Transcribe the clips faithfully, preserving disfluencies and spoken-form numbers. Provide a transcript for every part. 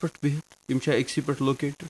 پٮ۪ٹھ بِہِتھ؟ یِم چھا أکسٕے پٮ۪ٹھ لوکیٹڈ؟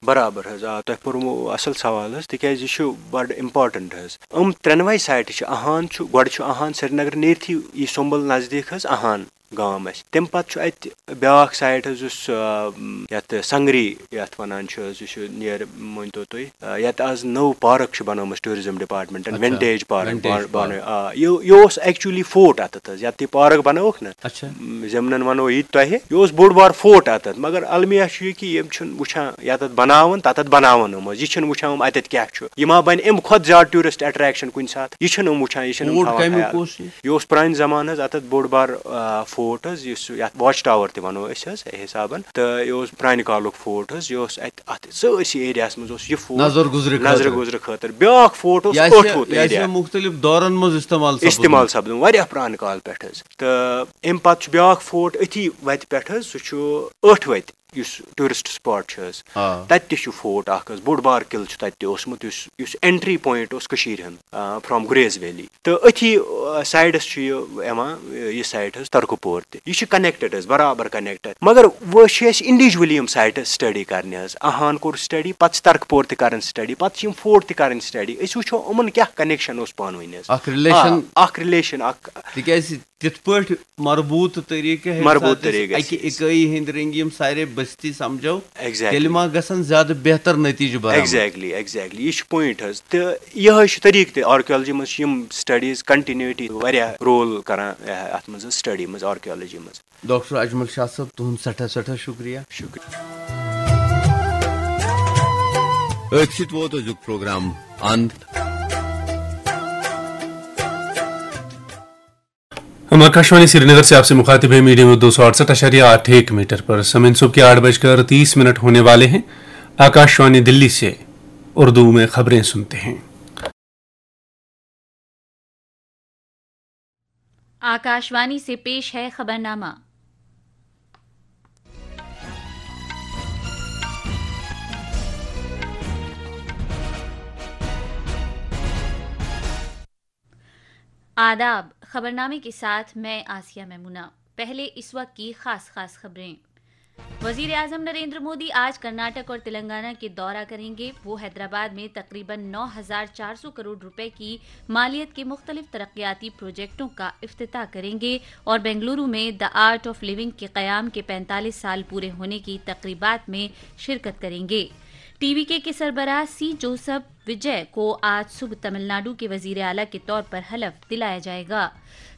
برابر حظ، آ، تۄہہِ پوٚرمُو اَصٕل سوال حظ، تِکیٛازِ یہِ چھُ بَڑٕ اِمپاٹَنٛٹ حظ۔ یِم ترٛٮ۪نوَے سایٹہٕ چھِ، اَہَن چھُ، گۄڈٕ چھُ اَہَن سرینگر نیرتھٕے یہِ سُمبل نزدیٖک حظ اَہَن گام اَسہِ۔ تَمہِ پَتہٕ چھُ اَتہِ بیٛاکھ سایٹ حظ، یُس، آ، یَتھ سنگری یَتھ وَنان چھِ حظ، یہِ چھُ نیر، مٲنۍ تو تُہۍ، آ، یَتھ آز نٔو پارک چھِ بَنٲومٕژ ٹوٗرِزم ڈپارٹمنٹَن، اچھا، ونٹیج پارک، ونٹیج بان-، پارک۔ بان-، آ، یہِ، یہِ اوس ایکچولی فورٹ اَتَتھ حظ، یَتھ یہِ پارک بَنٲوٕکھ نہ، اچھا۔ م، ضِمنَن وَنو یہِ تۄہہِ، یہِ اوس بوٚڑ بار فورٹ اَتَتھ، مگر المیہ چھُ یہِ کہِ یِم چھِنہٕ وٕچھان یَتَتھ بَناوان، تَتَتھ بَناوان یِم حظ، یہِ چھِنہٕ وٕچھان یِم اَتَتھ کیٛاہ چھُ، یہِ ما بَنہِ اَمہِ کھۄتہٕ زیادٕ ٹوٗرِسٹ اٹریکشن کُنہِ ساتہٕ، یہِ چھِنہٕ یِم وٕچھان، یہِ چھِنہٕ یِم فورٹ تھاوان کَمیُک خیال۔ اوس یہِ؟ یہِ اوس پرٛانہِ زمانہٕ حظ اَتَتھ بوٚڑ بار، آ، فورٹ حظ، یُس یَتھ واچ ٹاور تہِ وَنو أسۍ حظ حِسابَن، تہٕ یہِ اوس پرٛانہِ کالُک فورٹ حظ، یہِ اوس اَتہِ اَتھ سٲرسٕے ایریاہَس منٛز اوس یہِ فورٹ نظر گُزرِ نظرِ خٲطرٕ۔ گُزرِ خٲطرٕ۔ بیٛاکھ فورٹ اوس یہِ آسہِ، أٹھ وُہُر یہِ آسہِ ایریا۔ مُختٔلِف دورَن منٛز استعمال سپُدمُت۔ استعمال سپدُن واریاہ پرٛانہِ کالہٕ پٮ۪ٹھ حظ۔ تہٕ اَمہِ پَتہٕ چھُ بیٛاکھ فورٹ أتھی وَتہِ پٮ۪ٹھ حظ، سُہ چھُ ٲٹھ وَتہِ، یُس ٹوٗرِسٹ سپاٹ چھُ حظ۔ آ۔ تَتہِ تہِ چھُ فورٹ اَکھ حظ، بوٚڑ بار قلعہٕ چھُ تَتہِ تہِ اوسمُت، یُس، یُس اینٹری پوینٹ اوس کٔشیٖرِ ہُنٛد، آ، فرام گریز ویلی۔ تہٕ أتھی، آ، سایڈَس چھُ یہِ یِوان، یہِ سایٹ حظ ترکہٕ پور تہِ۔ یہِ چھُ کنیکٹڈ حظ، برابر کنیکٹڈ۔ مگر وۄنۍ چھِ اَسہِ انڈیویجولی یِم سایٹہٕ سٹڈی کرنہِ حظ۔ اَہَن کوٚر سٹڈی، پَتہٕ چھِ ترکہٕ پور تہِ کران سٹڈی، پَتہٕ چھِ یِم فورٹ تہِ کران سٹڈی۔ أسۍ وٕچھو یِمَن کیٛاہ کنیکشن اوس پانہٕ ؤنۍ حظ۔ اکھ ریلیشن۔ آ، اکھ ریلیشن، اکھ۔ تِکیٛازِ تِتھ پٲٹھۍ مربوط طریقہٕ ہیٚکہِ مربوط ساتہٕ أسۍ طریقہٕ اکہِ سۭتۍ۔ اِکٲیی ہٕنٛدۍ رٔنٛگۍ یِم سارے بستی سمجھو، exactly۔ تیٚلہِ ما گژھن زیادٕ بہتر نتیجہٕ برآمد؟ Exactly، exactly۔ یہِ چھُ پوینٹ حظ۔ تہٕ یِہوٚے چھُ طریقہٕ تہِ، آرکیالجی منٛز چھِ یِم سٹڈیٖز کنٹینیوٹی واریاہ رول کران، اَتھ منٛز حظ، سٹڈی منٛز، آرکیالجی منٛز۔ ڈاکٹر اجمل شاہ صٲب، تُہُنٛد سٮ۪ٹھاہ سٮ۪ٹھاہ شُکریہ۔ شُکریہ۔ أتھۍ سۭتۍ ووت أزیُک پروگرام اند۔ ہم آکاشوانی سری نگر سے آپ سے مخاطب ہے، میڈیم ویو دو سو اڑسٹھ اعشاریہ آٹھ ایک میٹر پر۔ سامعین، صبح کے آٹھ بج کر تیس منٹ ہونے والے ہیں۔ آکاشوانی دلی سے اردو میں خبریں سنتے ہیں۔ آکاشوانی سے پیش ہے خبرنامہ۔ آداب، خبرنامے کے ساتھ میں آسیہ میمونہ۔ پہلے اس وقت کی خاص خاص خبریں۔ وزیر اعظم نریندر مودی آج کرناٹک اور تلنگانہ کے دورہ کریں گے۔ وہ حیدرآباد میں تقریباً نو ہزار چار سو کروڑ روپے کی مالیت کے مختلف ترقیاتی پروجیکٹوں کا افتتاح کریں گے اور بنگلورو میں The Art of Living کے قیام کے پینتالیس سال پورے ہونے کی تقریبات میں شرکت کریں گے۔ ٹی وی کے کے سربراہ سی جوسف وجے کو آج صبح تمل ناڈو کے وزیر اعلیٰ کے طور پر حلف دلایا جائے گا۔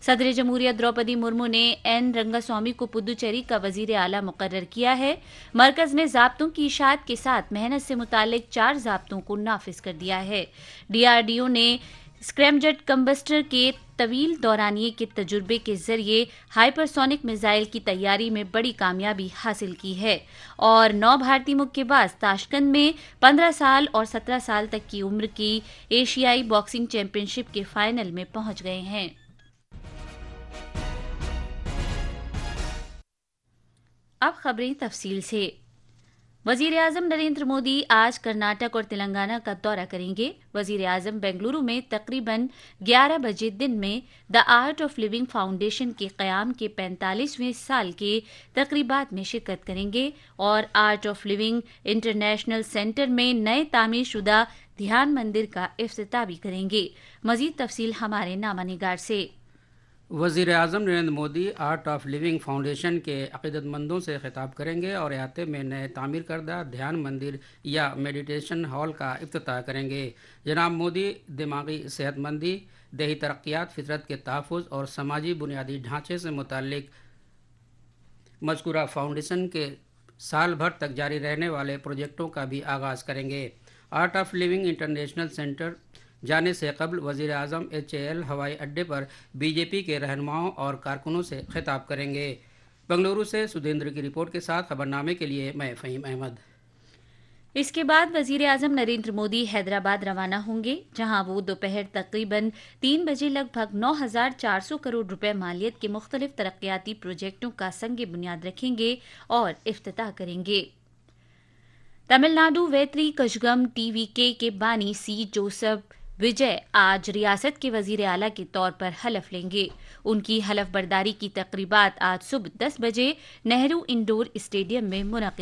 صدر جمہوریہ دروپدی مرمو نے این رنگا سوامی کو پدوچیری کا وزیر اعلیٰ مقرر کیا ہے۔ مرکز نے ضابطوں کی اشاعت کے ساتھ محنت سے متعلق چار ضابطوں کو نافذ کر دیا ہے۔ ڈی آر ڈی او نے اسکریم جیٹ کمبسٹر کے طویل دورانیے کے تجربے کے ذریعے ہائپرسونک میزائل کی تیاری میں بڑی کامیابی حاصل کی ہے اور نو بھارتی مکے باز تاشکند میں پندرہ سال اور سترہ سال تک کی عمر کی ایشیائی باکسنگ چیمپئن شپ کے فائنل میں پہنچ گئے ہیں۔ اب خبریں تفصیل سے۔ وزیر اعظم نریندر مودی آج کرناٹک اور تلنگانہ کا دورہ کریں گے۔ وزیر اعظم بنگلورو میں تقریباً گیارہ بجے دن میں The Art of Living foundation کے قیام کے پینتالیسویں سال کے تقریبات میں شرکت کریں گے اور art of living international centre میں نئے تعمیر شدہ دھیان مندر کا افتتاح بھی کریں گے۔ مزید تفصیل ہمارے نامہ نگار سے۔ وزیر اعظم Narendra Modi art of living foundation کے عقیدت مندوں سے خطاب کریں گے اور احاطے میں نئے تعمیر کردہ دھیان مندر یا میڈیٹیشن ہال کا افتتاح کریں گے۔ جناب مودی دماغی صحت مندی، دیہی ترقیات، فطرت کے تحفظ اور سماجی بنیادی ڈھانچے سے متعلق مذکورہ فاؤنڈیشن کے سال بھر تک جاری رہنے والے پروجیکٹوں کا بھی آغاز کریں گے۔ Art of living international centre جانے سے قبل وزیر اعظم ایچ اے ایل ہوائی اڈے پر بی جے پی کے رہنماؤں اور کارکنوں سے خطاب کریں گے۔ بنگلورو سے سدھیندر کی رپورٹ کے ساتھ خبرنامے کے لیے میں فہیم احمد۔ اس کے بعد وزیر اعظم نریندر مودی حیدرآباد روانہ ہوں گے، جہاں وہ دوپہر تقریباً تین بجے لگ بھگ نو ہزار چار سو کروڑ روپے مالیت کے مختلف ترقیاتی پروجیکٹوں کا سنگ بنیاد رکھیں گے اور افتتاح کریں گے۔ تمل ناڈو ویتری کشگم ٹی وی کے کے بانی سی جوسف وجے آج ریاست کے وزیر اعلیٰ کے طور پر حلف لیں گے۔ ان کی حلف برداری کی تقریبات آج صبح دس بجے نہرو انڈور اسٹیڈیم میں منعقد